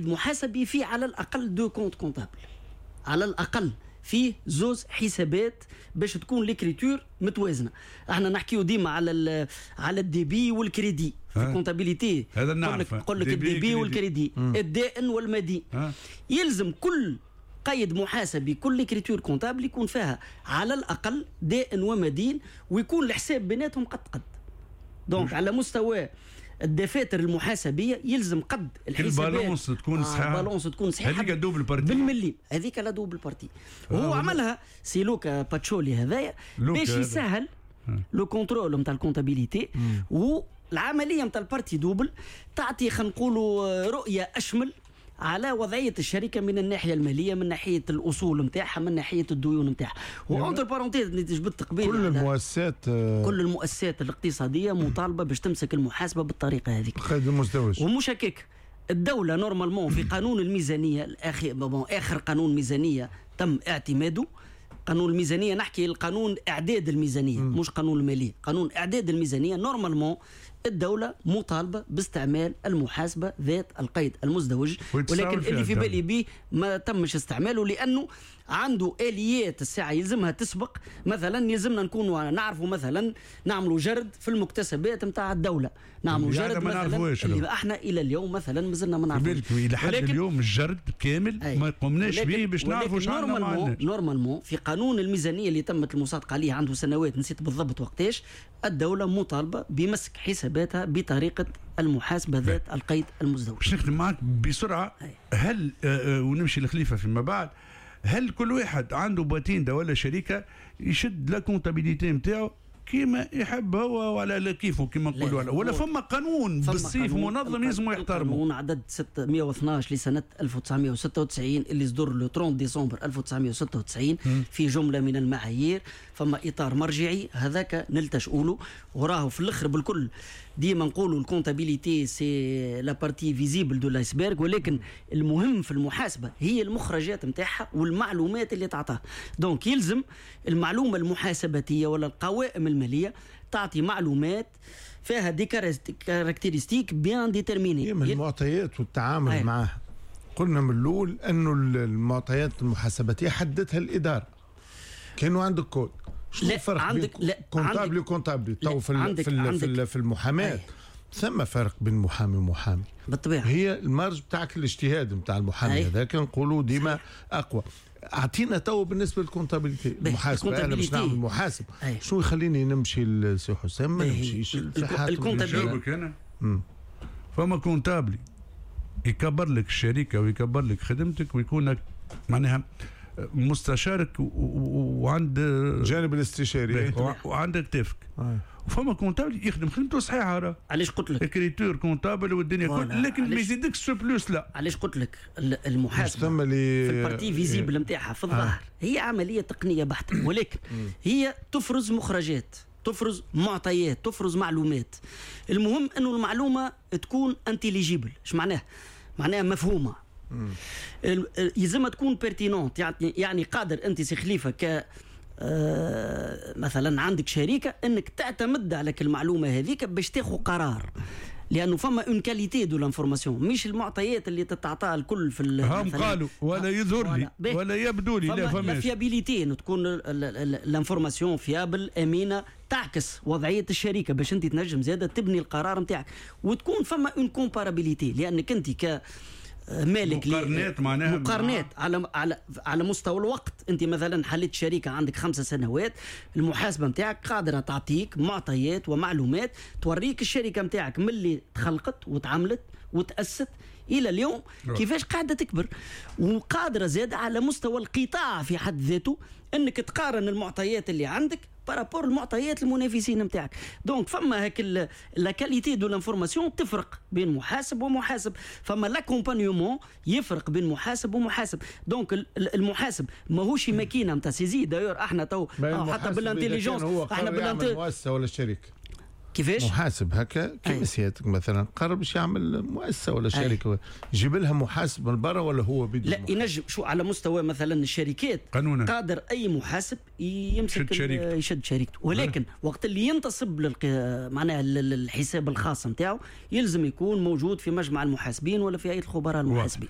محاسبي فيه على الاقل deux comptes comptables، على الاقل فيه زوز حسابات باش تكون l'écriture متوازنه. احنا نحكيو ديما على ال débit وال crédit في ال comptabilité. هذا نعرف. نقول لك ال débit وال crédit، الدائن والمدين. يلزم كل قيد محاسبي، كل écriture comptable يكون فيها على الاقل دائن ومدين، ويكون الحساب بيناتهم قد قد. donc على مستوى الدفاتر المحاسبيه يلزم قد الحسابات ال balance تكون صحيحه. ال balance تكون صحيحه. هذيك double partie. بالملي، هذيك la double partie. وهو عملها سي لوكا باتشولي هذايا باش يسهل le contrôle نتاع ال comptabilité، والعملية نتاع ال partie double تعطي، خلينا نقولوا، رؤية اشمل على وضعية الشركة من الناحية الماليه، من ناحية الاصول نتاعها، من ناحية الديون نتاعها. و entre parenthèses اللي جبدت قبيل كل المؤسسات كل المؤسسات الاقتصادية مطالبه باش تمسك المحاسبة بالطريقة هذيك. القيد المزدوج. ومش هكاك، الدولة normalement في قانون الميزانية الاخير، bon، اخر قانون ميزانية تم اعتماده، قانون الميزانيه، نحكي القانون اعداد الميزانيه، مش قانون الماليه، قانون اعداد الميزانيه، normalement الدولة مطالبة باستعمال المحاسبة ذات القيد المزدوج، ولكن اللي في بالي به ما تمش استعماله لأنه عنده آليات الساعة يلزمها تسبق. مثلا يلزمنا نكونوا نعرفوا، مثلا نعملوا جرد في المكتسبات نتاع الدولة، نعملوا جرد مثلا اللي احنا إلى اليوم مثلا مازلنا ما نعرفوش. إلى حد اليوم الجرد كامل ما قمناش به باش نعرفوا شنو. normalement في قانون الميزانية اللي تمت المصادقة عليه عنده سنوات، نسيت بالضبط وقتاش، الدولة مطالبة بمسك حساباتها بطريقة المحاسبة ذات القيد المزدوج. باش نخدم معك بسرعة، هل ونمشي لخليفة فيما بعد، هل كل واحد عنده patente ولا شركة يشد la comptabilité نتاعو كيما يحب هو ولا كيفه كيما نقولوا، ولا فما قانون بالسيف منظم لازم يحترمه؟ قانون عدد 612 لسنة 1996 اللي صدر le 30 ديسمبر 1996 في جملة من المعايير، فما إطار مرجعي هذاك نلتجئوا له. وراه في الاخر بالكل ديما نقولوا ال comptabilité c'est la partie visible de l'iceberg، ولكن المهم في المحاسبة هي المخرجات نتاعها والمعلومات اللي تعطاها. donc يلزم المعلومة المحاسباتيه ولا القوائم المالية تعطي معلومات فيها des caractéristiques bien déterminées. المعطيات والتعامل معها. قلنا من الاول انه المعطيات المحاسباتيه حددتها الاداره، كانوا عندك كود. شنو الفرق؟ عندك لا comptable و comptable تو في المحاماة ثم فرق بين محامي ومحامي. بالطبيعه. هي ال marge بتاعك، الاجتهاد بتاع المحامي هذاك نقولوا ديما اقوى. اعطينا تو بالنسبة لل comptabilité، المحاسبه، انا باش نعمل محاسب شو يخليني نمشي لسي حسام ما نمشيش؟ ال comptabilité انا فما comptable يكبر لك الشركة ويكبر لك خدمتك ويكون معناها مستشارك وعند الجانب الاستشاري. وعندك تفك. وفما comptable يخدم خدمته صحيحه راه. علاش قلت لك écriture comptable والدنيا كل، لكن ما يزيدكش plus لا. علاش قلت لك المحاسبة في ال partie visible نتاعها في الظاهر هي عملية تقنية بحته، ولكن هي تفرز مخرجات، تفرز معطيات، تفرز معلومات. المهم انه المعلومة تكون intelligible. ايش معناها؟ معناها مفهومه، يلزمها تكون pertinente، يعني قادر انت سي خليفة ك مثلا عندك شركة انك تعتمد على المعلومة هذيك باش تاخذ قرار، لانه فما une qualité de l'information، مش المعطيات اللي تتعطى الكل في هم قالوا ولا يظهر لي ولا يبدو لي لا فما la fiabilité، انه تكون l'information fiable، امينه، تعكس وضعية الشركة باش انت تنجم زاده تبني القرار نتاعك، وتكون فما une comparabilité، لانك انت ك مالك مقارنات معناها مقارنات على مستوى الوقت. انت مثلا حليت شركة عندك 5 سنوات، المحاسبة نتاعك قادرة تعطيك معطيات ومعلومات توريك الشركة نتاعك من اللي تخلقت وتعملت وتاسست الى اليوم كيفاش قاعدة تكبر، وقادرة زاد على مستوى القطاع في حد ذاته انك تقارن المعطيات اللي عندك par rapport المعطيات المنافسين نتاعك. donc فما هاك la qualité de l'information تفرق بين محاسب ومحاسب، فما l'accompagnement يفرق بين محاسب ومحاسب. donc المحاسب ماهوش ماكينة نتاع saisie. d'ailleurs احنا تو حتى بال intelligence احنا بال مؤسسة ولا شركه. كيفاش؟ محاسب هكا كيما سيادتك مثلا قرر باش يعمل مؤسسة ولا شركه، يجيب لها محاسب من برا ولا هو بيدو؟ لا، ينجم. شو على مستوى مثلا الشركات قانونا قادر اي محاسب يمسك يشد شركته. يشد شركته، ولكن وقت اللي ينتصب معناها الحساب الخاص نتاعو يلزم يكون موجود في مجمع المحاسبين ولا في هيئة الخبراء المحاسبين.